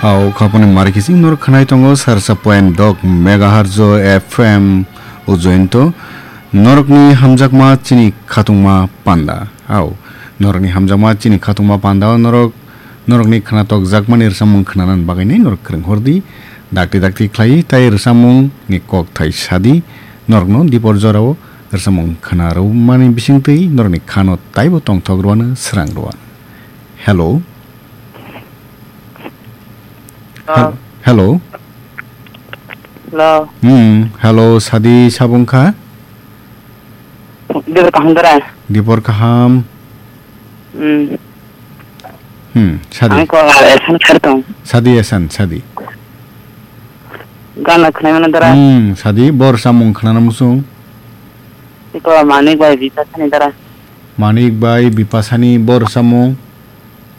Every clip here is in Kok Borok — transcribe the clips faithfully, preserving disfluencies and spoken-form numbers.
Au khaponi mari kising norok khnai tongo sarsa point dok megahertz o F M ujointo norokni hamjakma chini khatungma panda. Au norokni hamjakma chini khatungma panda o norok norokni khnatok jakmani rwchapmung khnanani bagwi nai norok kwrwng hordi dakti dakti khlai tai rwchapmung ni kok thai sadi norokno dipor jorao rwchapmung khna rwmani bisingtwi norokni khano taibo tongthok rwano srang rwano. Hello. Hello. Hello. Hello. Hmm, hello, sadi sabung kha? Dibor kaham dara? Dibor kaham. Hmm. Hmm, sadi. Ang ko esan khartong. Sadi esan, sadi. Gana khnai mana dara? Hmm, sadi, bor samung khnana musung. Iko Manik bai Bipasani dara. Manik bai Bipasani bor samung.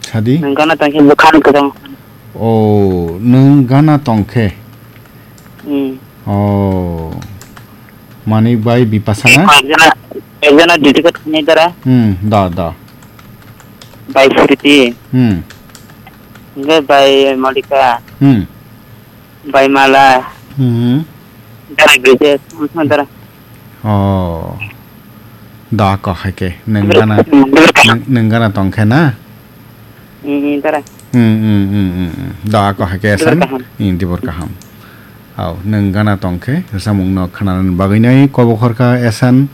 Sadi? Nwng gana tongkhe bwkhani kwchang. O, nwng gana tongkhe? Hmm. O. Manik bai Bipasana? Ekjona, ekjona dedicate khainai dara. Hmm, da, da. Bai Sriti. Hmm. Hingke bai Malika. Hmm. Bai Mala. Hmm. Dara Gede, sama dara. Oh. Da ko hai ke, neng gana, neng, neng gana tong khe na? Hmm, dara. Hmm, hmm, hmm, hmm, hmm. Da ko hai ke san? Dibor kaham. Hmm, dibor kaham. Au, neng gana tong khe, samung no khana bagwi nai kobo khorka esan.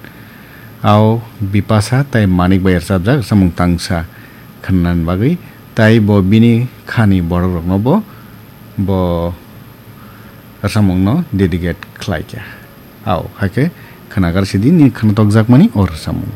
Au, Bipasa tai Manik bai rwchapjak samung tangsa khana bagwi. Tai bo bini khani borok rokno bo, bo rwchapmungno dedicate khlai kha. Au, hai khe khwnagar sidi ni khwnatok jakmani o rwchapmung.